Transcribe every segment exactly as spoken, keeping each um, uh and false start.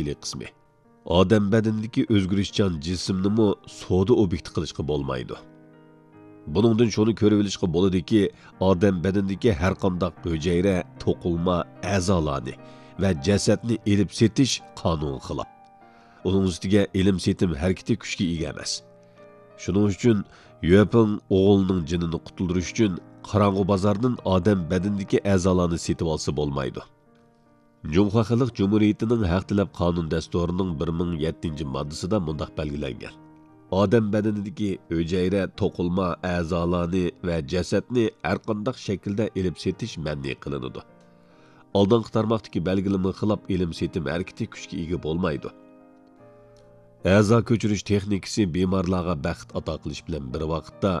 تەپسىلىي قىسمى. ئادەم بەدىنىدىكى ئۆزگىرىشچان جىسىمنىمۇ سودا ئوبيېكتى قىلىشقا بولمايدۇ. بۇنىڭدىن شۇنى كۆرۈۋېلىشقا بولىدۇكى، ئادەم بەدىنىدىكى ھەرقانداق ھۈجەيرە، توقۇلما، ئەزالارنى ۋە جەسەتنى ئېلىپ سېتىش قانۇنغا خىلاپ. ئۇنىڭ ئۈستىگە ئېلىم-سېتىم ھەرىكىتى كۈچكە ئىگە ئەمەس. شۇنىڭ ئۈچۈن يۈەپىڭ ئوغلىنىڭ جېنىنى قۇتۇلدۇرۇش ئۈچۈن قاراڭغۇ بازاردىن ئادەم بەدىنىدىكى ئەزالارنى سېتىۋالسا بولمايدۇ. جۇڭخۇا خەلق جۇمھۇرىيىتىنىڭ ھەق تەلەپ قانۇن دەستۇرىنىڭ بىر مىڭ يەتتىنچى ماددىسىدا مۇنداق بەلگىلەنگەن: ئادەم بەدىنىدىكى ھۈجەيرە، توقۇلما، ئەزالارنى ۋە جەسەتنى ھەرقانداق شەكىلدە ئېلىپ سېتىش مەنئى قىلىنىدۇ. ئالدىنقى تارماقتىكى بەلگىلىمىگە خىلاپ ئېلىم سېتىم ھەرىكىتى كۈچكە ئىگە بولمايدۇ. ئەزا كۆچۈرۈش تېخنىكىسى بىمارلارغا بەخت ئاتا قىلىش بىلەن بىر ۋاقىتتا،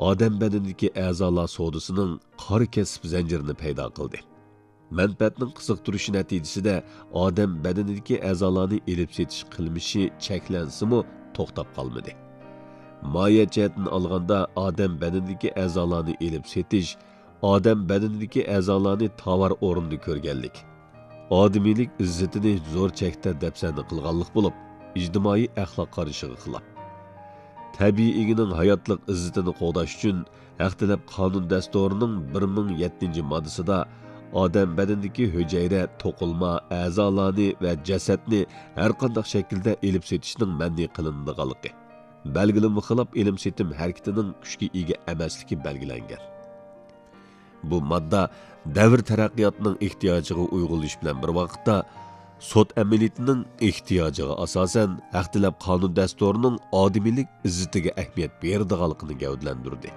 ئادەم بەدىنىدىكى ئەزالار سودىسىنىڭ قارا كەسىپ زەنجىرىنى پەيدا قىلدى. مەنپەئەتنىڭ قىزىقتۇرۇشى نەتىجىسىدە ئادەم بەدىنىدىكى ئەزالارنى ئېلىپ سېتىش قىلمىشى چەكلەنسىمۇ، توختاپ قالمىدى. ماھىيەت جەھەتتىن ئالغاندا، ئادەم بەدىنىدىكى ئەزالارنى ئېلىپ سېتىش ئادەم بەدىنىدىكى ئەزالارنى تاۋار ئورنىدا كۆرگەنلىك، ئادىمىيلىك ئىززىتىنى زور چەكتە دەپسەندە قىلغانلىق بولۇپ، ئىجتىمائىي ئەخلاق قارىشىغا خىلاپ. تەبىئىي ئىگىنىڭ ھاياتلىق ئىززىتىنى قوغداش ئۈچۈن، ھەق تەلەپ قانۇن دەستۇرىنىڭ بىر مىڭ يەتتىنچى ماددىسىدا ئادەم بەدىنىدىكى ھۈجەيرە، توقۇلما، ئەزالارنى ۋە جەسەتنى ھەرقانداق شەكىلدە ئېلىپ سېتىشنىڭ مەنئى قىلىنىدىغانلىقى، بەلگىلىمىگە خىلاپ ئېلىم سېتىم ھەرىكىتىنىڭ كۈچكە ئىگە ئەمەسلىكى بەلگىلەنگەن. بۇ ماددا دەۋر تەرەققىياتىنىڭ ئېھتىياجىغا ئۇيغۇنلىشىش بىلەن بىر ۋاقىتتا، سوت ئەمەلىيىتىنىڭ ئېھتىياجىغا ئاساسەن، ھەق تەلەپ قانۇن دەستۇرىنىڭ ئادىمىيلىك ئىززىتىگە ئەھمىيەت بېرىدىغانلىقىنى گەۋدىلەندۈردى.